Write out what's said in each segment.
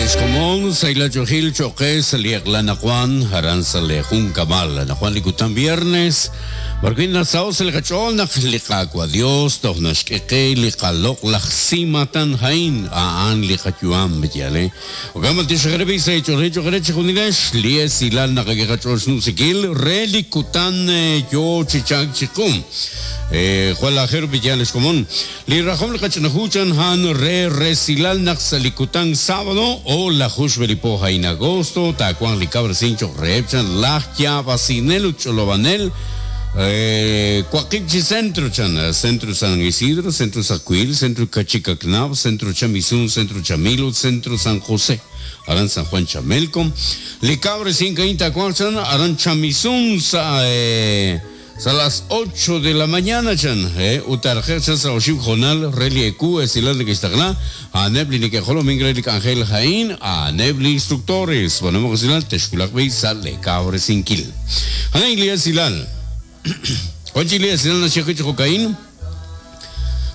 Xkomon sahil ach'oolejil cho'q qe sa' li eq'la anaqwan aran sa' li junkab'al. Anaqwan li kutan viernes, b'arwi' nasaho' sa' li qach'ool naq li Qaawa' Dios toj naxk'e qe li qaloq'laj simatan a'in, a'an li qayu'am, yaal e. Jo'kan b'antiox re b'i' sa' eech'oolejil cho'q re chejunilex li esilal naqak'e qach'ool xnumsinkil re li kutan yoo chi chalk chiqu. Jwal aajel ru b'i' yaal ex komon. Li rajom li qach'ina hu chan a'an re resilal naq sa' li kutan sábado o laju xb'e li po a'in agosto taawanq li kawresink cho'q reheb' chan laj yaab'asinel ut ch'olob'anel waqib' chi centro chan, Centro San Isidro, Centro Sacuil, Centro Kachikaknab', Centro Chamisun, Centro Chamil ut Centro San José aran San Juan Chamelco. Li kawresink a'in taawanq chan aran Chamisun sa' Sa' las ocho de la mañana chan, ut taaraqe'q chan sa' oxib' hoonal re li ewu esilal neke'xtaqla, a'aneb' li neke'jolomink re li k'anjel a'in, a'aneb' li instructores. B'aanumaq usilal, texwulaq b'i' sa' lee kawresinkil. A'an li esilal. Wan chik li esilal naxye ajwi' chi jo'ka'in.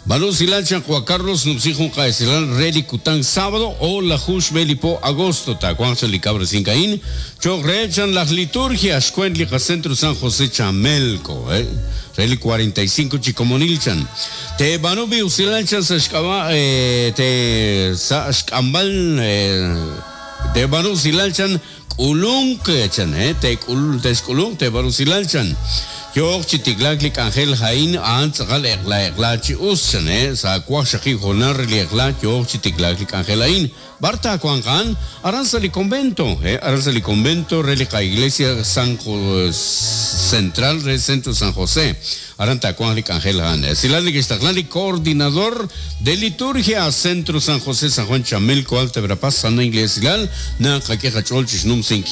B'aanu usilal chan Juan Carlos numsi jun qa'esilal re li kutan sábado o laju xb'e li po agosto taawanq chan li kawresink a'in cho'q reheb' chan laj liturgia xkwent li qacentro San José Chamelco re li 45 chi komonil chan teeb'aanu b'i usilal chan sa' xk'ab'a' te sa' xk'amb'al teeb'aanu usilal chan K'ulunk, chan, he, teek'ul, texk'ulunq, teeb'aanu usilal, chan. Yooq chi tiklaak li k'anjel a'in, a'an tz'aqal eq'la eq'la chi us, chan, he, sa' waqxaqib' hoonal re li eq'la yooq chi tiklaak li k'anjel a'in. B'ar taawanq a'an? Aran sa' li convento, he, aran sa' li convento re li qa'iglesia San Central re Centro San José. Aran taawanq li k'anjel a'an. Esilal neke'xtaqla li Coordinador de Liturgia Centro San José San Juan Chamelco Alta Verapaz Sana Iglesia Esilal naqak'e qach'ool chi xnumsinkil.